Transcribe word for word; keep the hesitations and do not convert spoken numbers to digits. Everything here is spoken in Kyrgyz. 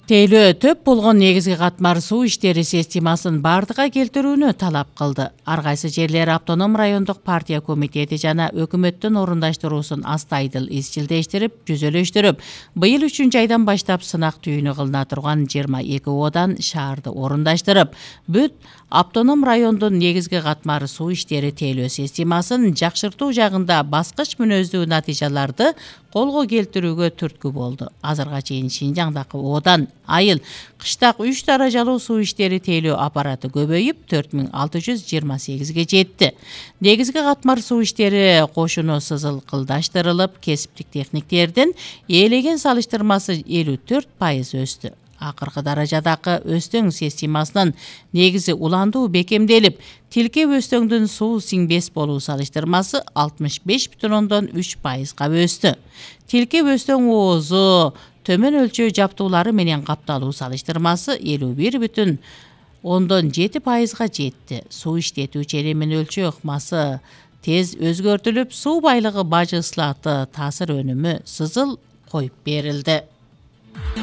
Тейлөө төп болгон негизги катмар суу иштери системасын бардыга келтирүүнү талап кылды. Ар кайсы жерлер автоном райондук партия комитети жана өкмөттүн орундаштыруусун астайдыл изчилдештирип, жүзөлөштүрүп, быйыл үчүнчү айдан баштап сынак түйүнү кылына турган жыйырма эки оодан шаарды орундаштырып, бүт автоном райондун негизги катмар суу иштери тейлөө системасын жакшыртуу жагында баскыч мүнөздүү натыйжаларды колго келтирүүгө түрткү болду. Азырга чейин Шинжаңдагы оодан айыл кыштак үч даражалуу суу иштери тейлөө аппараты көбөйүп төрт миң алты жүз жыйырма сегизге жетти. Негизги катмар суу иштери кошуну сызылкылдаштырылып, кесиптик техниктердин ээлеген салыштырмасы элүү төрт пайыз өстү. Акыркы даражадагы өстөң системасынын негизи уландуу бекемделип, тилкеп өстөңдүн суу сиңбес болуу салыштырмасы алтымыш беш бүтүн ондон үч пайызга өстү. Тилкеп өстөң оозу төмөн өлчөө жаптуулары менен капталуу салыштырмасы элүү бир бүтүн ондон жети пайызга жетти. Суу иштетүү ченемин өлчөө ыкмасы тез өзгөртүлүп, суу байлыгы бажы ыслаты таасир өнүмү сызыл коюп берилди.